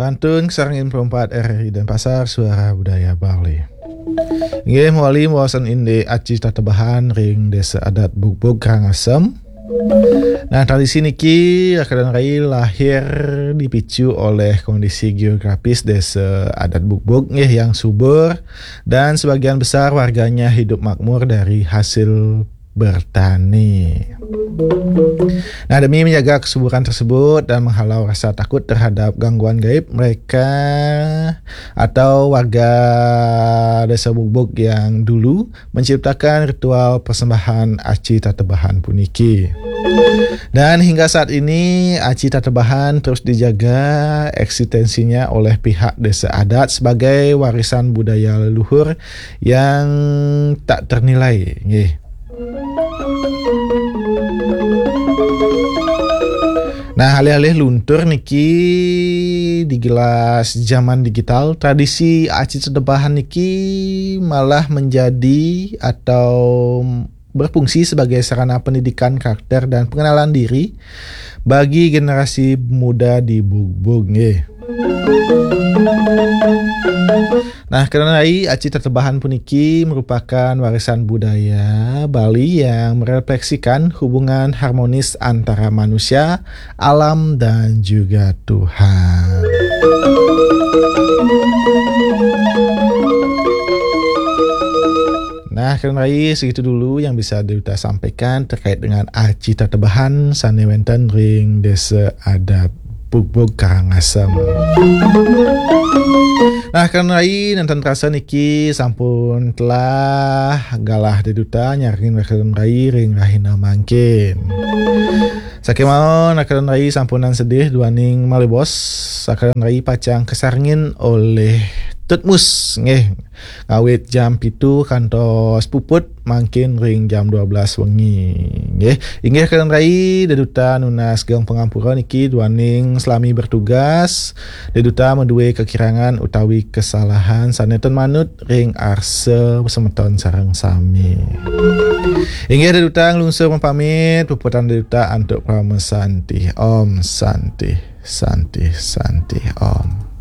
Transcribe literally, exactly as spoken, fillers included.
Pantun Sarangin Perempat R R I Denpasar, Suara Budaya Bali. Nggih, mawali mawasan indik aci tatebahan ring Desa Adat Bugbug Karangasem. Nah, tradisi niki, Raka dan Rai, lahir dipicu oleh kondisi geografis Desa Adat Bugbug nggih yang subur dan sebagian besar warganya hidup makmur dari hasil bertani. Nah, demi menjaga kesuburan tersebut dan menghalau rasa takut terhadap gangguan gaib, mereka atau warga Desa Bugbug yang dulu menciptakan ritual persembahan aci tatebahan puniki. Dan hingga saat ini, aci tatebahan terus dijaga eksistensinya oleh pihak Desa Adat sebagai warisan budaya leluhur yang tak ternilai. Nggih. Nah, alih-alih luntur niki digelas zaman digital, tradisi aci tatebahan niki malah menjadi atau berfungsi sebagai sarana pendidikan karakter dan pengenalan diri bagi generasi muda di Bugbug nggih. Nah, Raka dan Rai, aci tatebahan puniki merupakan warisan budaya Bali yang merefleksikan hubungan harmonis antara manusia, alam, dan juga Tuhan. Nah, Raka dan Rai, segitu dulu yang bisa Deduta sampaikan terkait dengan aci tatebahan sane wenten ring Desa Adat Bugbug Karangasem. Nah, Raka dan Rai, nenten terasa niki sampun telah galah Deduta nyarengin Raka dan Rai ring rahina mangkin. Sakemanten Raka dan Rai sampunang sedih duaning malebos, Raka dan Rai pacang kasarengin olih Tutmus nggih, ngawit jam pitu kantos puput mangkin ring jam dua belas wengi. Nggih, inggih Raka dan Rai, Deduta nunas geng pangampura niki duaning selami bertugas. Deduta madue kakirangan utawi kasalahan sane ten manut ring arsa semeton sareng sami. Inggih Deduta nglungsur mapamit, puputang Deduta antuk parama santi. Om Santi, Santi, Santi, Om.